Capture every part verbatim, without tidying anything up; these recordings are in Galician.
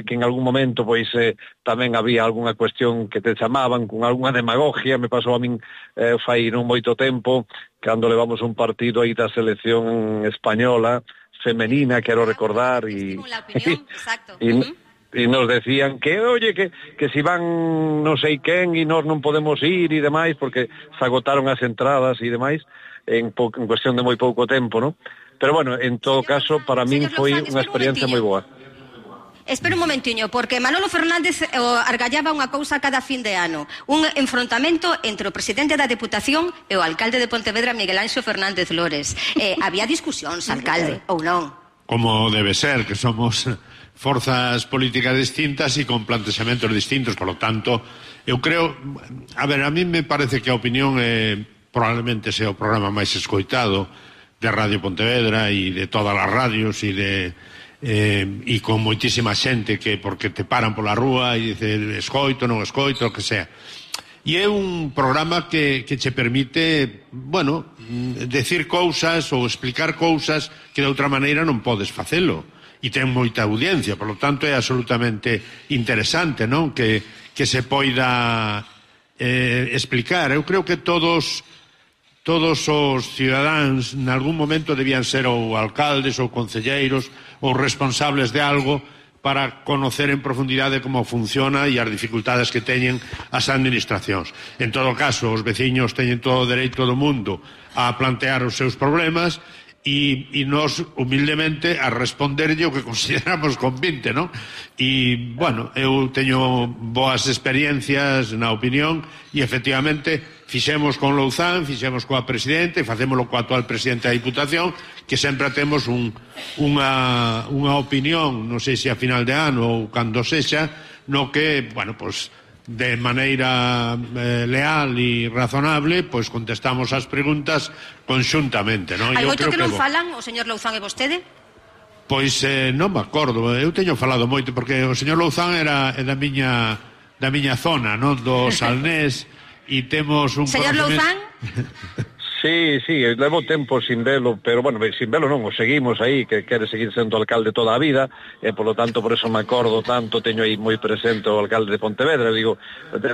que en algún momento pois eh, tamén había algunha cuestión que te chamaban con algunha demagogia, me pasou a min eh, fai non moito tempo, cando levamos un partido aí da selección española, femenina, quero recordar, e, e, e nos decían que, oye, que, que si van non sei quen e nós non podemos ir e demais, porque se agotaron as entradas e demais, en, po, en cuestión de moi pouco tempo, non? Pero bueno, en todo caso, para min foi unha experiencia moi boa. Espera un momentiño, porque Manolo Fernández o, argallaba unha cousa cada fin de ano, un enfrontamento entre o presidente da Deputación e o alcalde de Pontevedra, Miguel Anxo Fernández Lores. Eh, había discusións, alcalde, ou non? Como debe ser, que somos forzas políticas distintas e con plantexamentos distintos, por lo tanto, eu creo, a ver, a mí me parece que a opinión é, probablemente sea o programa máis escoitado de Radio Pontevedra e de todas as radios e de eh, e con moitísima xente que porque te paran pola rúa e dice escoito, non escoito, o que sea. E é un programa que, que che permite, bueno, decir cousas ou explicar cousas que de outra maneira non podes facelo. E ten moita audiencia, por lo tanto é absolutamente interesante, non? Que, que se poida eh, explicar. Eu creo que todos todos os cidadáns en algún momento debían ser ou alcaldes ou concelleiros ou responsables de algo para conocer en profundidade como funciona e as dificultades que teñen as administracións. En todo caso, os veciños teñen todo o dereito do mundo a plantear os seus problemas e, e nos, humildemente, a responderlle o que consideramos convinte, non? E, bueno, eu teño boas experiencias na opinión e, efectivamente, fixemos con Louzán, fixemos coa presidente, facémolo coa actual presidente da Diputación, que sempre temos un, unha, unha opinión, non sei se a final de ano ou cando sexa, no que, bueno, pois, de maneira eh, leal e razonable, pois contestamos as preguntas conxuntamente, non? Hai moito que non falan o señor Louzán e vostede? Pois eh, non me acordo, eu teño falado moito, porque o señor Louzán era da miña, da miña zona, non? Do Salnés, e temos un... Señor Louzán? Sí, sí, levo tempo sin velo, pero, bueno, sin velo non, o seguimos aí, que quere seguir sendo alcalde toda a vida, e, polo tanto, por eso me acordo tanto, teño aí moi presente o alcalde de Pontevedra, digo,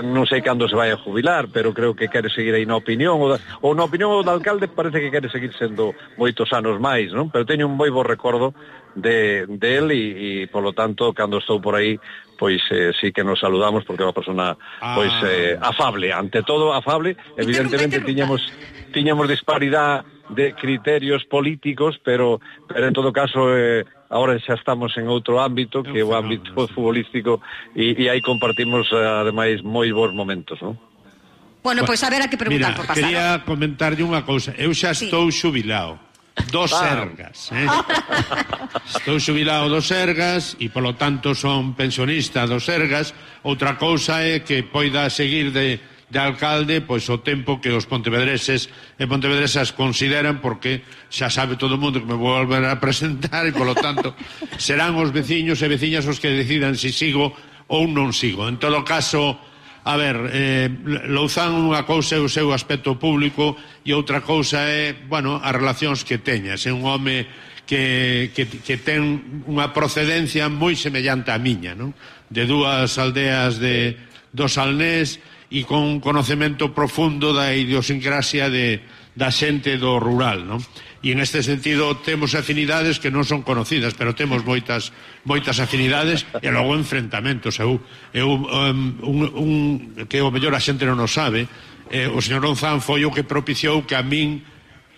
non sei cando se vai a jubilar, pero creo que quere seguir aí na opinión, ou, da, ou na opinión do alcalde parece que quere seguir sendo moitos anos máis, non? Pero teño un moi bo recordo de, de él e, e, polo tanto, cando estou por aí, pois eh, sí que nos saludamos, porque é unha persona, pois, eh, afable, ante todo afable, evidentemente tiñamos... tiñamos disparidade de criterios políticos, pero, pero en todo caso eh, ahora xa estamos en outro ámbito, que é o ámbito futbolístico, e, e aí compartimos eh, ademais moi bons momentos, non? Bueno, pois pues, a ver a que preguntar Mira, por pasar. Quería comentarlle unha cousa. Eu xa sí. estou xubilado dos ah. Sergas, eh? Estou xubilado dos Sergas e polo tanto son pensionista dos Sergas. Outra cousa é que poida seguir de de alcalde, pois o tempo que os pontevedreses e pontevedresas consideran, porque xa sabe todo o mundo que me vou volver a presentar e, polo tanto, serán os veciños e veciñas os que decidan se si sigo ou non sigo. En todo caso, a ver, eh, Louzán unha cousa é o seu aspecto público e outra cousa é, bueno, as relacións que teñas. É un home que, que, que ten unha procedencia moi semellante á miña, non? De dúas aldeas de, do Salnés, e con un conocemento profundo da idiosincrasia de, da xente do rural, non? E en este sentido temos afinidades que non son conocidas, pero temos moitas moitas afinidades e logo enfrentamentos. Eu, eu um, un, un, que o mellor a xente non o sabe, eh, o señor Louzán foi o que propiciou que a min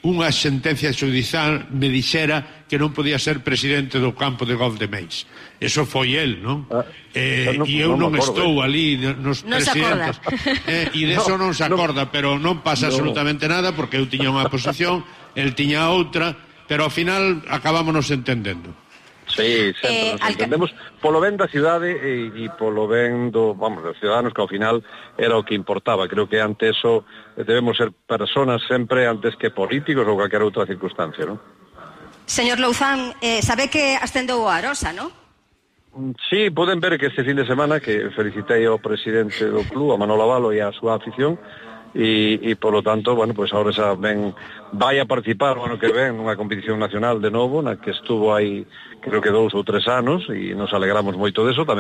unha sentencia xudicial me dixera que non podía ser presidente do campo de golf de Meis. Eso foi el, non? Ah, eh, e eu non, non estou ali nos non presidentes. Eh, e deso non, non se acorda, no, pero non pasa no. absolutamente nada, porque eu tiña unha posición, el tiña outra, pero ao final acabámonos entendendo. Sí, sempre eh, nos entendemos polo ben da cidade e, e polo ben do, vamos, dos ciudadanos, que ao final era o que importaba. Creo que ante eso debemos ser personas sempre antes que políticos ou calquera outra circunstancia, non? Señor Louzán, eh, sabe que ascendeu a Arosa, non? Sí, poden ver que este fin de semana que felicitei ao presidente do club, a Manolo Avalo, e a súa afición, e, e polo tanto, bueno, pois agora xa ven, vai a participar o ano que ven nunha competición nacional de novo, na que estuvo aí creo que dous ou tres anos, e nos alegramos moito deso, tamén